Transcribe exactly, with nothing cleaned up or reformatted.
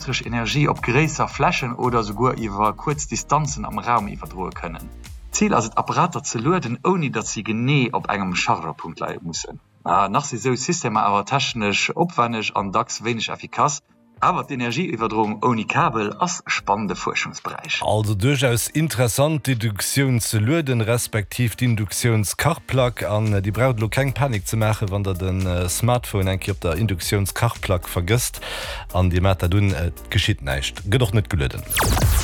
Elektresch Energie op gréisser Flächen oder souguer iwwer kuerz Distanzen am Raum iwwerdroe kënnen. Zil ass et, Apparater ze lueden, ouni datt si genee op engem Chargerpunkt leie mussen. Nach si sou Systemer awer technesch opwenneg an dacks wéineg effikass. Awer d'Energieiwwerdroung ouni Kabel ass e spannende Fuerschungsberäich. Also duerchaus interessant, d'Induktioun ze lueden, respektiv d'Induktiounskachplack. An Dir braucht elo keng Panik ze maachen, wann der de Smartphone eng Kéier op der Induktionskachplack vergësst an Dir maacht dat un, et geschitt näischt, gëtt och net gelueden.